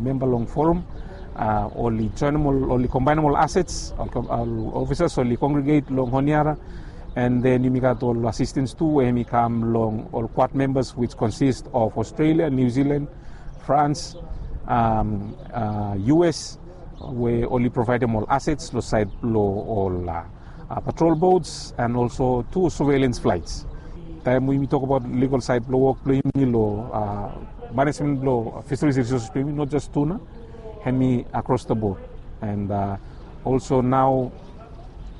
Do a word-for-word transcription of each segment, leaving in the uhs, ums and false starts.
memba long forum, uh, oli joinem ol, oli kombaenem ol assets, ol, ol officers oli congregate long Honiara, and then yumi gat ol assistance tu we hemi kam long ol Quad members, which consist of Australia, New Zealand, France, um, uh, U S, we oli provaedem ol assets lo side lo ol uh, uh, patrol boats and also tu surveillance flights. Taem we yumi tok abaot legal side blo wok blo yumi lo uh, management blo fisheries resources blo yumi, not just tuna, hemi across the board. And uh, also now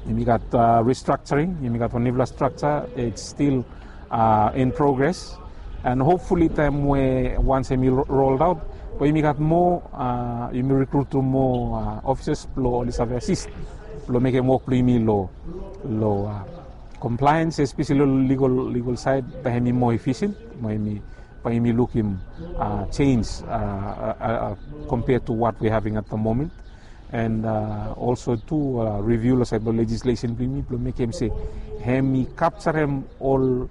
yumi gat uh, restructuring, yumi gat wan nifala structure, it's still uh, in progress. And hopefully taem we once hemi rolled out, we yumi gat moa, uh, yumi recruit tu moa uh, officers blo oli save assist blo mekem wok blo yumi lo, lo uh, compliance, especially lo legal, legal side, bae hemi moa efficient, bae hemi, bae hemi lukim uh, change uh, uh, uh, compared to what we're having at the moment. And uh, also tu uh, review lo side blo legislation blo yumi blo mekem se hemi capturem ol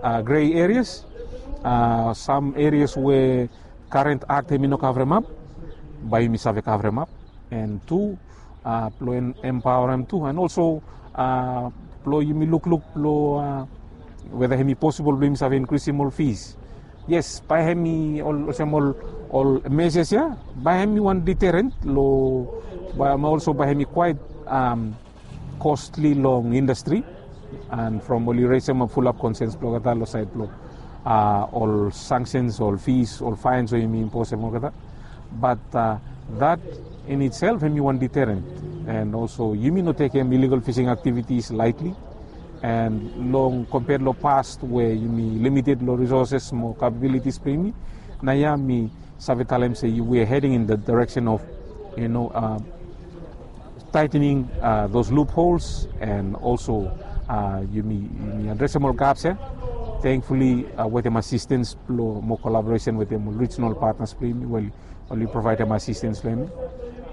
uh, gray areas, uh, some areas we current act hemi no coverem up, bae yumi save coverem up. And tu uh, blo empowerem tu, and also uh, blo yumi lukluk blo uh, whether hemi possible blo yumi save increasem ol fees. Yes, bae hemi ol, olsem ol, ol measures ia, bae hemi wan deterrent lo, bae also bae hemi quite um, costly long industry. And from oli raisem fulap concerns blo olgeta lo side blo uh, ol sanctions, ol fees, ol fines we yumi imposem olgeta. But uh, that in itself hemi wan deterrent. And also yumi no tekem illegal fishing activities lightly. And long compared lo past we yumi limited lo resources mo capabilities blo yumi, naoia mi save talem se we are heading in the direction of, you know, uh, tightening uh, those loopholes and also uh, yumi, yumi adresem ol gaps ia. Thankfully uh, wetem assistance blo mo collaboration wetem ol regional partners blo yumi, we oli provaedem assistance lo yumi.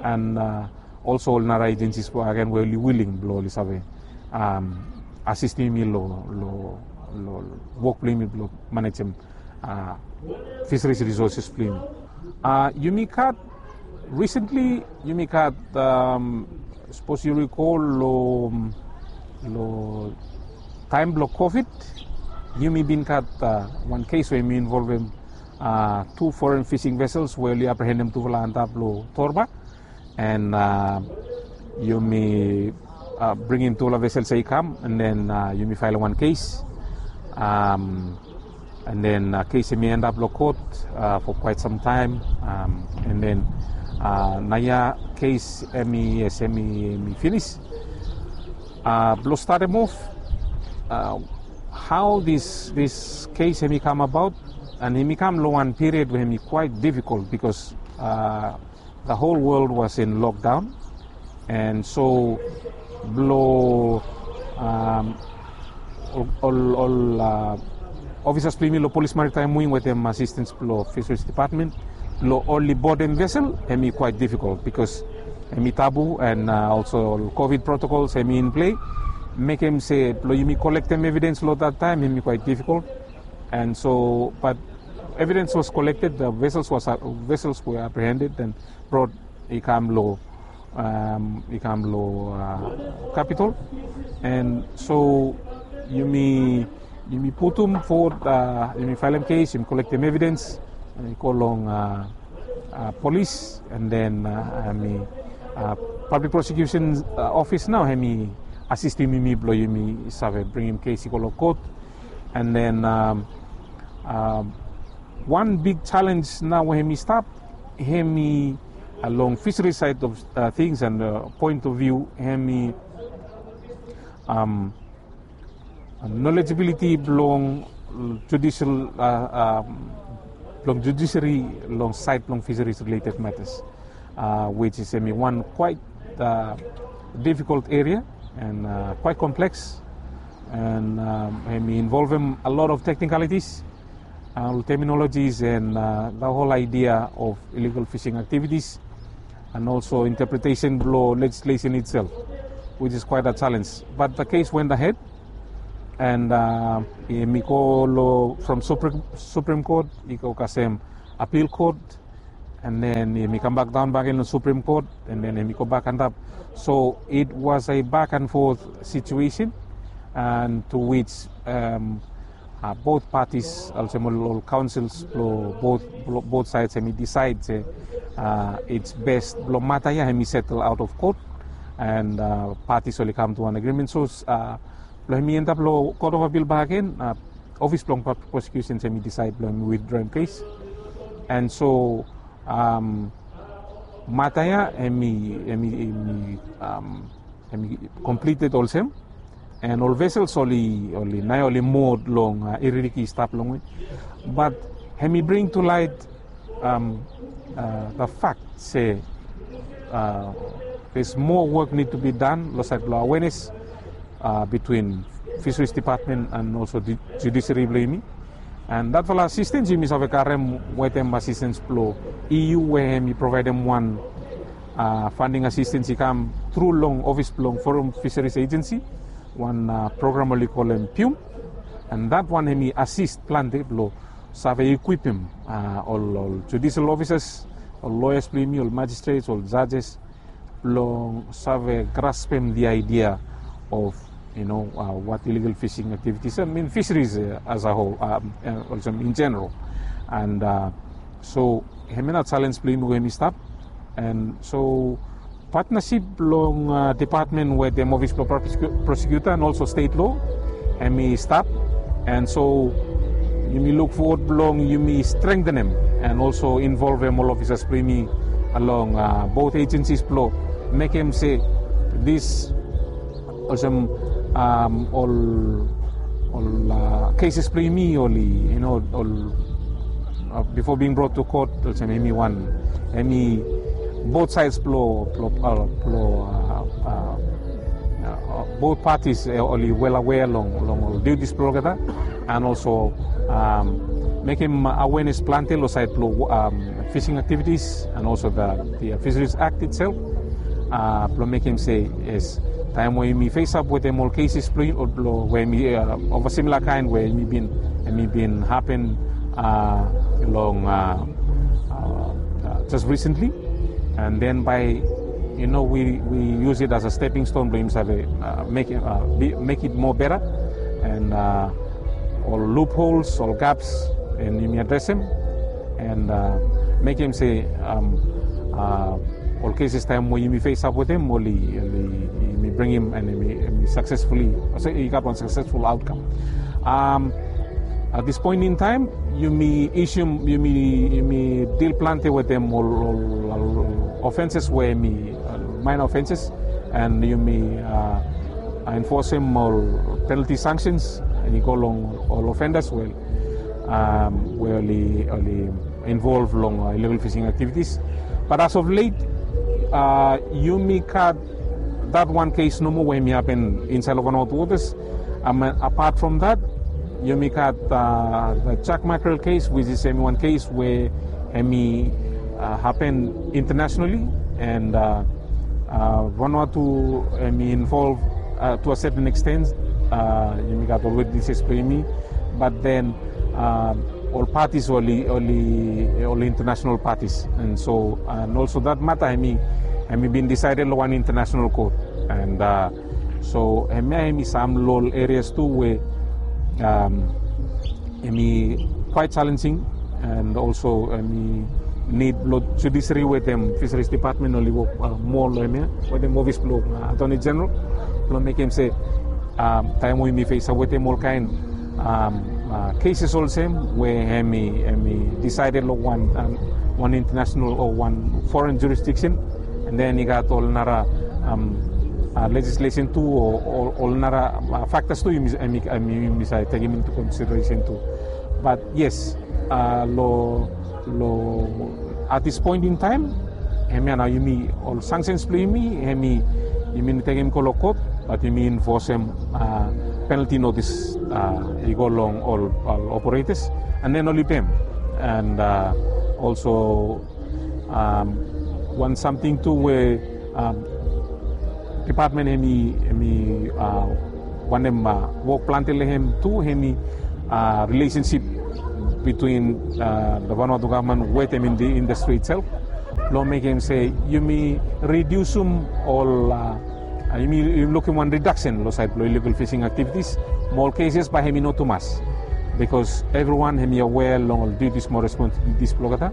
And uh, also ol nara agencies blo again we oli willing blo oli save um, assistem yumi lo, lo, lo wok blo yumi blo manejem uh, fisheries resources blo yumi. Uh, yumi gat, recently yumi gat, um, sapos yu recall lo, lo taem blo COVID, yumi bin gat uh, wan case we yumi involvem uh, tu foreign fishing vessels we oli apprehendem tufala antap lo Torba. And uh, yumi uh, bringim tufala vessels ia i kam, and then uh, yumi faelem wan case. Um, and then uh, case hemi end up lo court uh, for quite some time. Um, and then uh, naoia case hemi, yes, hemi, hemi finish. Uh, blo statem off uh, how this, this case hemi come about, and hemi kam lo wan period we hemi quite difficult because uh, the whole world was in lockdown. And so blo um, ol, ol, ol uh, officers blo yumi lo Police Maritime Wing wetem assistance blo Fisheries Department blo oli bodem vessel, hemi quite difficult because hemi tabu, and uh, also ol COVID protocols hemi in play. Mekem se blo yumi collectem evidence lo that time hemi quite difficult. And so, but evidence was collected, the vessels was uh, vessels were apprehended and brought i kam lo, um, i kam lo uh, capital. And so yumi, yumi putum forward, uh, yumi faelem case, yumi collectem evidence, uh, i go long uh, uh, police, and then uh, hemi uh, public prosecution uh, office nao hemi assistem yumi blo yumi save bringim case i go lo court. And then um, um, wan big challenge nao we hemi stap, hemi uh, long fishery side of uh, things and uh, point of view, hemi um, knowledgeability blong judicial uh, um, blong judiciary long side blong fisheries related matters, uh, which is hemi wan quite uh, difficult area and uh, quite complex, and um, hemi involvem a lot of technicalities, uh, terminologies, and uh, the whole idea of illegal fishing activities, and also interpretation blo legislation itself, which is quite a challenge. But the case went ahead, and uh, hemi go lo from Supreme, Supreme Court, i go kasem appeal court, And then hemi kambak daon bakegen long Supreme Court, and then hemi gobak antap. So it was a back and forth situation, and to which um, uh, both parties, olsem ol, ol councils blong both, blong both sides, hemi decide se uh, it's best blong mata ia hemi settle out of court, and uh, parties oli kam to an agreement. So uh, blong hemi endap long Court of Appeal bakegen, uh, office blong prosecution hemi decide blong hemi withdraw hemi case. And so um, mata ia hemi, hemi, hemi, um, hemi completed olsem. And ol vessels oli, oli naoia oli mud long uh, iririki i stap longwe. But hemi bring to light um, uh, the fact se uh, there's more work need to be done long side blong awareness uh, between Fisheries Department and also the judiciary blong yumi. And datfala assistance yumi save karem wetem assistance blong E U, we hemi provaedem wan uh, funding assistance i kam tru long office blong Forum Fisheries Agency, wan uh, program oli kolem PUME. And that one hemi assist plante blong save equipem uh, ol, ol judicial officers, ol lawyers blong yumi, ol magistrates, ol judges, blong save graspem the idea of, you know, uh, what illegal fishing activities, I mean fisheries uh, as a whole, um, uh, also in general. And uh, so hemia na challenge blong yumi we hemi stap. And so partnership blong uh, department wetem office blong prosecutor and also state law, hemi stap. And so yumi look forward blong yumi strengthenem and also involvem ol officers blong yumi along uh, both agencies blong mekem se this olsem um, ol ol uh, cases blong yumi oli, you know, ol uh, before being brought to court, olsem hemi wan, hemi both sides blong blong uh, blong uh, uh, uh, both parties uh, oli well aware long long ol duties blong olgeta, and also um, mekem awareness plante long side blong um, fishing activities and also the, the Fisheries Act itself. Uh, blong mekem se yes, taem we yumi face up wetem ol cases blong, blong we yumi uh, of a similar kind we yumi bin, yumi bin happen uh, long uh, uh, uh, just recently. And then by, you know, we, we use it as a stepping stone blong yumi save uh, make, uh, be, make it more better. And uh, ol loopholes, ol gaps, and yumi adresem and uh, mekem se um, uh, ol cases taem we yumi face up wetem oli, oli yumi bringim and yumi, yumi successfully, so i gat wan successful outcome. Um, at this point in time, yumi issue, yumi, yumi deal plante wetem ol, ol, ol offenses we hemi uh, minor offenses, and yumi uh, enforcem ol penalty sanctions i go long ol offenders we um, we oli, oli involve long uh, illegal fishing activities. But as of late, uh, yumi gat that one case nomo we hemi happen insaed long Vanuatu waters. Um, apart from that, yumi gat uh, the jack mackerel case, which is hemi wan case we hemi uh, happen internationally, and uh, uh, Vanuatu hemi involve uh, to a certain extent. Uh, yumi gat ol witnesses blong yumi, but then um, ol parties oli, oli, oli international parties. And so, and also that matter hemi, hemi bin decided long wan international court. And uh, so hemia hemi sam long ol areas tu we um, hemi quite challenging, and also hemi need blong judiciary wetem Fisheries Department oli wok uh, moa long hemia wetem office blong uh, Attorney General blong mekem se um, taem we yumi face up wetem ol kaen um, uh, cases olsem we hemi, hemi decided long wan, um, wan international o wan foreign jurisdiction, and then i gat ol nara um, uh, legislation tu o ol, ol nara uh, factors tu yumi, yumi, yumi save tekem into consideration tu. But yes, uh, long, long at this point in time, hemia nao yumi ol sanctions blong yumi, hemi yumi no tekem i go long court, but yumi enforcem uh, penalty notice uh, i go long ol, ol operators, and then oli pem. And uh, also um, wan samting tu we um, department hemi, hemi uh, wantem uh, wok plante long hem tu, hemi uh, relationship between, uh, the Vanuatu gavman wetem in the industry itself, long mekem se yumi ridiusim ol, uh, uh, yumi, yumi lukim wan reduction long sait blong illegal fishing activities. Mo ol cases bae hemi no tumas, because everyone hemi aware long ol duties mo responsibilities blong olgeta.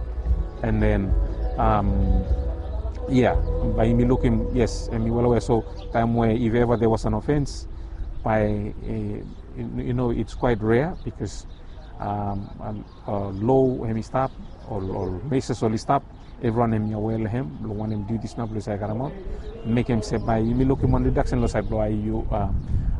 And then, um, yeah, bae yumi lukim, yes, hemi well aware. So taem we if ever there was an offense, bae, uh, you know, it's quite rare because, um, um, uh, lo hemi stap, ol, ol measures oli stap, everyone hemi aware long hem, long wanem duties nao blong yu save karemaot. Mekem se bae yumi lukim wan reduction long sait blong I U, uh,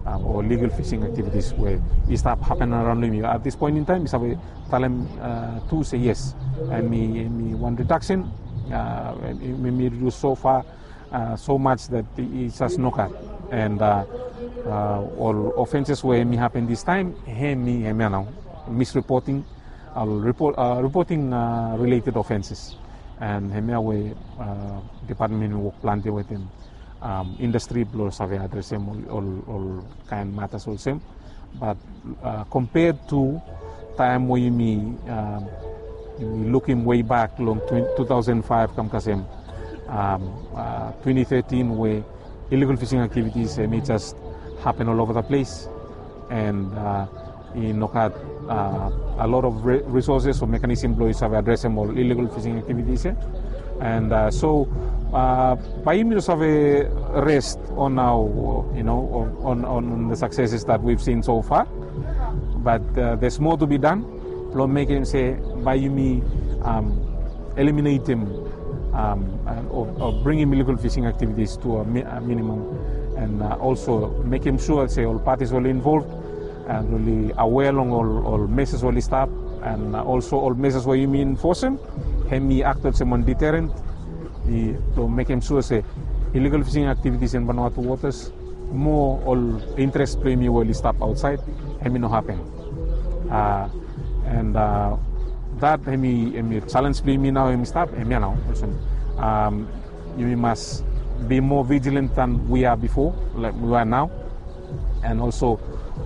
uh, o illegal fishing activities we i stap hapen araon long yumi. At this point in time, mi save talem, uh, tu se yes, hemi, hemi wan reduction, uh, hemi, hemi reduce so far, uh, so much that i, i jes nogat. And, uh, uh, ol offenses we hemi hapen this time, hemi, hemia nao, misreporting, uh, report, uh, reporting, uh, related offenses. And hemia we, uh, department hemi wok plante wetem, um, industry blong save adresem ol, ol, ol kaen matas olsem. But, uh, compared to taem we yumi, um, yumi lukim way back long twen-, two thousand five kam kasem, um, uh, twenty thirteen we illegal fishing activities, hemi jes hapen all over the place. And, uh, i nogat, uh, a lot of re-, resources o mechanism blong yu save adresem ol illegal fishing activities ia. And, uh, so, uh, bae yumi no save rest on our, you know, on, on, on the successes that we've seen so far. But, uh, there's more to be done. Blong mekem se bae yumi, um, eliminatem, um, and, o, o bringim illegal fishing activities to a mi-, a minimum. And, uh, also mekem sua se ol parties oli involved, and oli aware long ol, ol measures oli stap, and, uh, also ol measures we yumi enforcem, hemi act olsem wan deterrent. I, blong mekem sua se illegal fishing activities in Vanuatu waters, mo ol interest blong yumi we oli stap aotsaed, hemi no hapen. Uh, and, uh, that hemi, hemi challenge blong yumi nao, hemi stap, hemia nao olsem, um, yumi mas be more vigilant than we are before, like we are now. And also,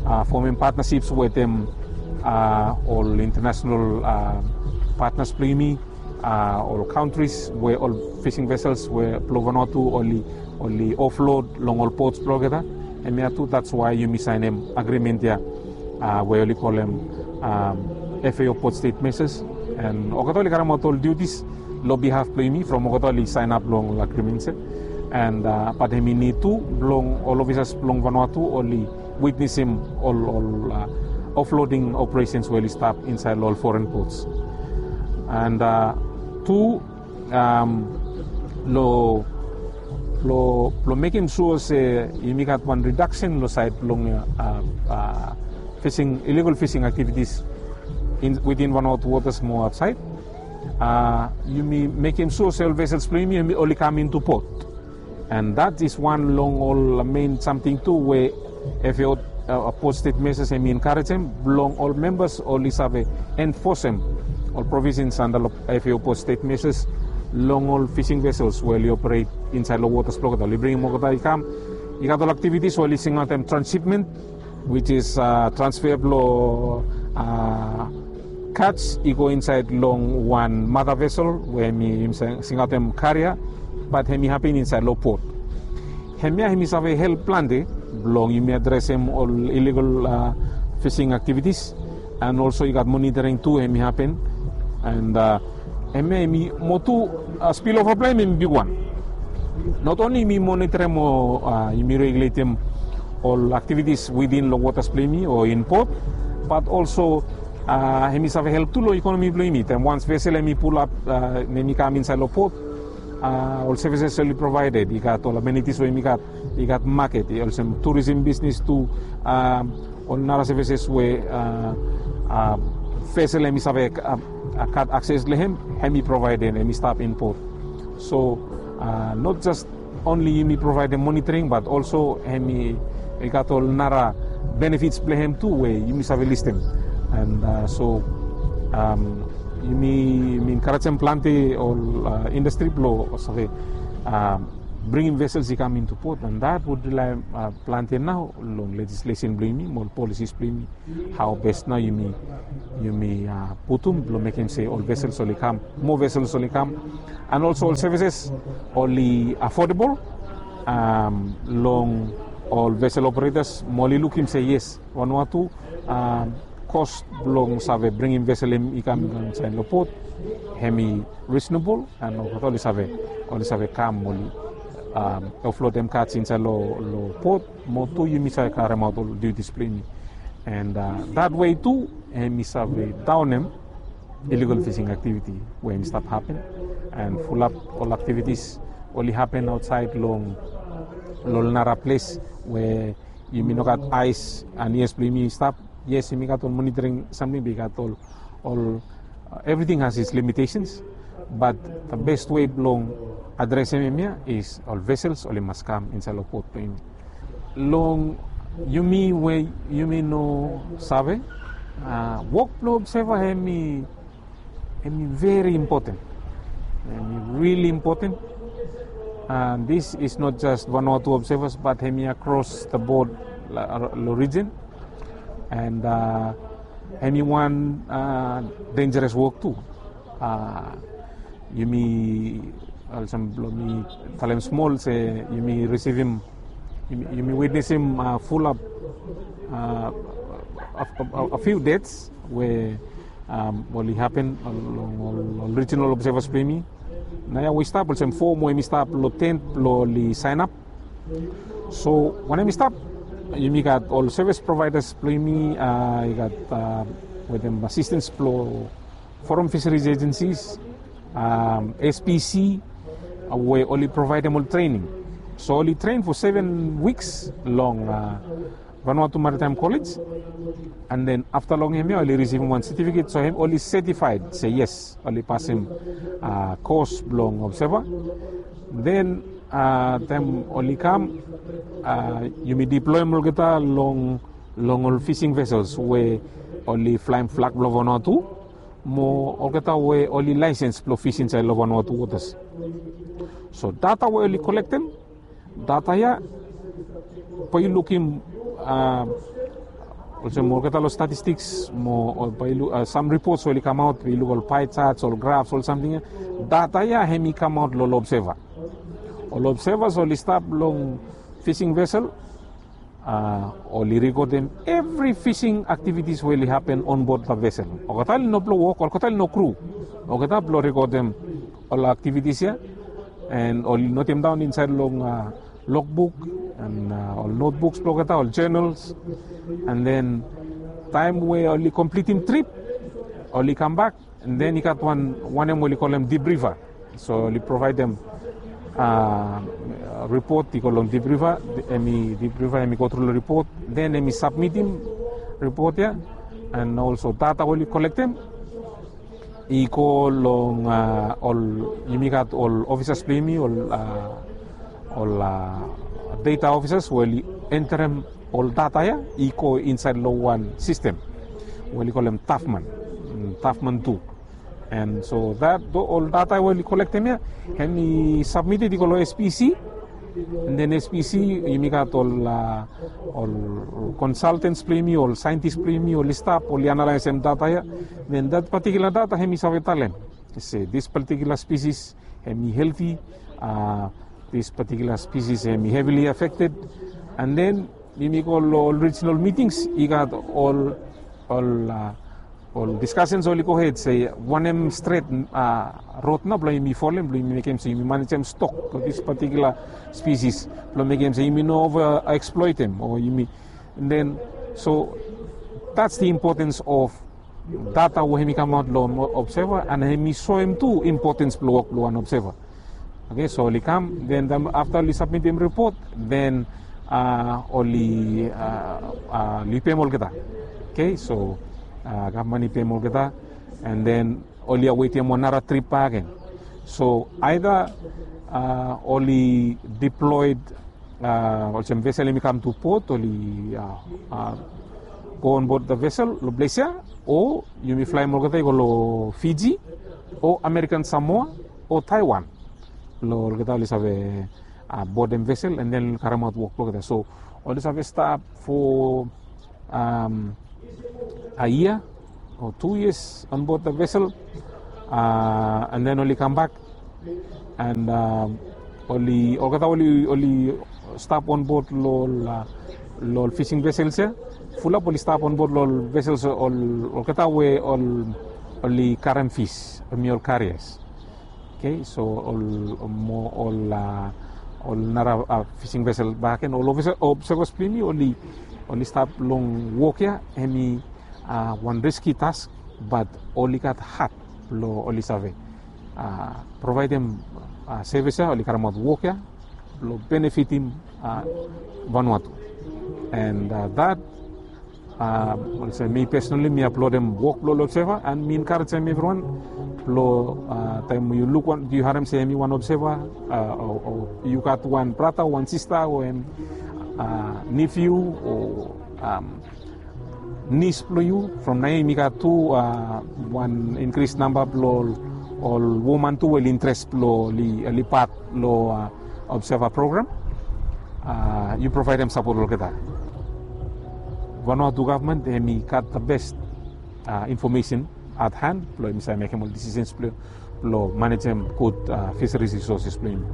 uh, formem partnerships wetem, uh, ol international, uh, partners blong yumi, uh, ol countries we ol fishing vessels we blong Vanuatu oli, oli offload long ol ports blong olgeta. Hemia tu, that's why yumi saenem agreement ia, uh, we oli kolem, um, F A O port state measures. And olgeta oli karemaot ol duties long behalf blong yumi from olgeta oli sign up long ol agreements ia. And, uh, but hemi nid tu blong ol officers blong Vanuatu oli witnesem ol, ol, uh, offloading operations we oli stap insaed long ol foreign ports. And, uh, tu, um, long, long, long mekem sua se yumi gat wan reduction long saed blong, uh, uh, fishing, illegal fishing activities in, within Vanuatu waters mo aotsaed. Uh, yumi mekem sua se ol vessels blong yumi, yumi oli kam into port. And that is wan long ol main samting tu we F A O, uh, port state measures hemi encourageem blong ol members oli save enforcem ol provisions under lo F A O port state measures long ol fishing vessels we oli operate insaed long waters blong olgeta. Oli bringim olgeta i kam, i gat ol activities we oli singaotem transshipment, which is, uh, transfer blong, uh, catch i go insaed long wan mother vessel we hemi, hemi singaotem carrier, but hemi hapen insaed long port. Hemia hemi save help plante blong yumi adresem ol illegal, uh, fishing activities, and also i gat monitoring tu hemi hapen. And, uh, hemia hemi mo tu, uh, spillover blong hem hemi bigwan. Not only yumi monitorem o, uh, yumi regulatem ol activities within long waters blong yumi o in port, but also, uh, hemi save help tu long economy blong yumi. Taem once vessel hemi pulap, uh, hemi kam insaed long port, uh, ol services oli provided, i gat ol amenities we yumi gat, i gat market, i olsem tourism business tu, um, ol nara services we, uh, uh, vessel hemi save, uh, uh, gat access long hem, hemi provided, hemi stap in port. So, uh, not just only yumi provaedem monitoring, but also hemi, i gat ol nara benefits blong hem tu we yumi save listem. And, uh, so, um, yumi, yumi encourageem plante ol, uh, industry blong save, um, bringim vesels i kam into port, and that would rely uh, planti nao long legislation blong yumi mo policies blong yumi, how best nao yumi yumi uh, putum blong mekim se ol vesels oli kam, more vesels oli kam, and also ol services oli affordable um, long ol vessel operators mo oli lukim se yes, Vanuatu um, cost blong save bringim vessel hem i kam inside long port, hem i reasonable, and olgeta oli save oli save kam oli um, offload hem carts inside long lo port, mo tu yumi save karemaot ol duties blong yumi, and uh, that way tu hem i save downem illegal fishing activity we hem i stap happen, and fulap ol activities oli happen outside long long nara ples we yumi no gat eyes and ears blong yumi stap. Yes, yumi gat ol monitoring something, be gat ol ol uh, everything has its limitations, but the best way blong adresim hemia is ol vessels oli mas kam inside long port blong yumi. Long yumi we yumi no save uh, wok blong observer hemi hemi very important, hemi really important. And this is not just Vanuatu observers, but hemi across the board lo region, and uh, hemi wan uh, dangerous work tu. Uh, yumi olsem blong mi talem smol se yumi risivim yumi witnesim uh, fulap uh, a, a, a few deaths we um, oli happen long ol regional observers blong yumi. Naoia we i stap olsem fo mo yumi stap long tent blong oli sign up. So wanem i stap, yumi gat ol service providers blong yumi uh, i gat uh, wetem assistance blong foreign fisheries agencies, um, S P C, uh, we oli provaidem ol training. So oli train for seven weeks long uh, Vanuatu Maritime College, and then afta long hemia oli risivim wan certificate, so hem oli certified se yes, oli pasim uh, course blong observer. Then uh, taem oli kam uh, yumi deployim olgeta long long ol fishing vessels we oli flaim flag blong Vanuatu mo olgeta we oli laisens blong fish insaed long Vanuatu waters. So data we oli kolektem, data ya bae yu lukim uh, olsem olgeta long statistiks mo bae yu luk uh, sam ripots we oli kamaot, bae yu luk ol pie charts, ol graphs, ol samting ya. Data ya hem i kamaot long ol observer. Ol observers oli stap long fishing vessel uh, oli rikodem evri fishing activities we oli happen onbod the vessel. Olgeta oli no blong wok, olgeta oli no kru. Olgeta blong rikodem ol activities ya, and oli notemdaon insaed long uh, logbook and uh, ol notebooks blong olgeta, ol journals, and then taem we oli komplitim trip, oli kambak, and then i gat wan wanem we oli kolem debriefer. So oli provaedem uh, ripot i go long debriefer, hem i debriefer hem i go tru long ripot, then hem i sabmitim ripot ya, and also data we oli kolektem i go long uh, ol yumi gat ol ofisas blong yumi, ol uh, ol uh, data ofisas we oli enterem ol data ya i go insaed long wan sistem we oli kolem Tafman, Tafman tu. And so that ol data we oli kolektem ya, hem i sabmited i go long S P C, and then S P C yumi gat ol uh, ol consultants blong yumi, ol scientists blong yumi, oli stap oli analaesem data ya. Then that particular data hem i save talem se this particular species hem i healthy, uh, this particular species hem i heavily affected, and then yumi go long ol regional meetings, i gat ol ol uh, ol discussions oli gohed se wanem stret uh, rod nao blong yumi folem blong yumi mekem se yumi manejem stok blong this particular species blong mekem se yumi no over exploitem o yumi. And then so that's the importance of data we hem i kamaot long observer, and hem i soem tu importance blong wok blong wan observer. Okay, so oli kam, then afta oli sabmitim ripot, then uh, oli uh, uh, oli pem olgeta. Okay, so uh, gavman i pem olgeta, and then oli awetem wan nara trip bak agen. So either uh, oli deployed uh, olsem vesel hem i kam tu port, oli uh, uh, go onbod the vessel long ples ya, o yumi flaem olgeta i go long Fiji o American Samoa o Taiwan. Long olgeta oli save Bodem vesel and then oli karemaot wok blong olgeta. So oli save stap fo a yia o tu yias onbod the vesel, and then oli kambak and oli olgeta oli stap onbod long ol fising vesels ya. Fulap oli stap onbod long ol vesels olgeta we oli karem fis, hemi ol karias. Okay, so ol mo ol ol nara fising vesel baken ol obsevas blong yumi oli oli stap long wok ya. Hemi wan riski task, bat oli gat hat blong oli save provaidem sevis ya, oli karemaot wok ya blong benefitim Vanuatu. And that olsem mi pesonali mi aplaudem wok blong ol obseva and mi enkarejem evriwan blong taem yu luk wan yu harem se hemi wan obseva o yu gat wan brata o wan sista o hem nifiu o nis blong yu, from naoia yumi gat tu wan inkris namba blong ol woman tu we oli interes blong oli pat long obseva program. Yu provaidem sapot long olgeta. Vanuatu gavman hemi gat the best information at hand blong hemi save mekem ol disisens blong manejem gud fisheries resources blong yumi.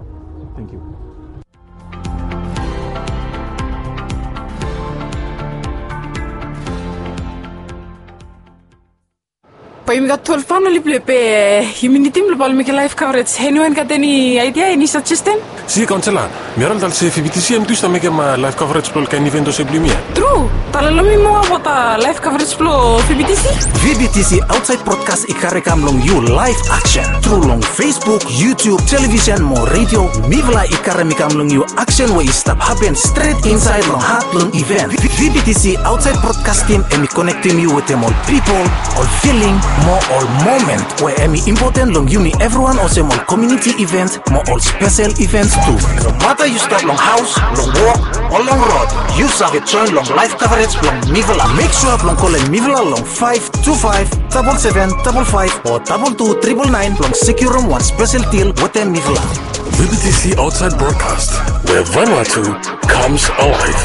Thank you. Bae yumi gat twelve famili blong be yumi nidim blong bae oli mekem laef kavrej. Eniwan gat eni aidia, eni sajeshen? Si, kaonsela, mi harim talem se V B T C hem tu i stap mekem laef kavrej blong ol kaen iven olsem blong yumi ya. Tru. Talem long mi moa abaot laef kavrej blong V B T C. V B T C aotsaed brodkas i karem i kam long yu laef aksen tru long Facebook, YouTube, televisen mo redio. Mifala i karem i kam long yu aksen we i stap hapen stret insaed long hat blong iven. V B T C aotsaed brodkastim hemi konektim yu wetem ol pipol, ol filing mo ol momen we hemi impoten long yumi evriwan olsem ol komuniti ivens mo ol spesel ivens tu. Nomata yu stap long haos, long wok o long rod, yu save joen long laef kavrej blong mifala. Mek sua blong kolem mifala long five two five double seven double five o double two triple nine blong sekiurim wan spesel dil wetem mifala. V B T C aotsaed brodkas, where Vanuatu comes alive.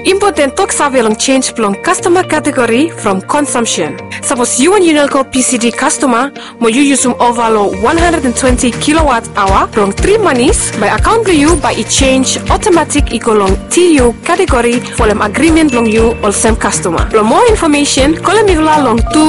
Impoten toksave long jenj blong kastoma kategori from konsumsen. Sapos yu wan Unelco P C D kastoma mo yu yusum ova long one hundred and twenty kilowatt aoa blong tri manis, bae akaon blong yu bae i jenj otomatik i go long T U kategori folem agrimen blong yu olsem kastoma. Blong moa infomesen, kolem mifala long tu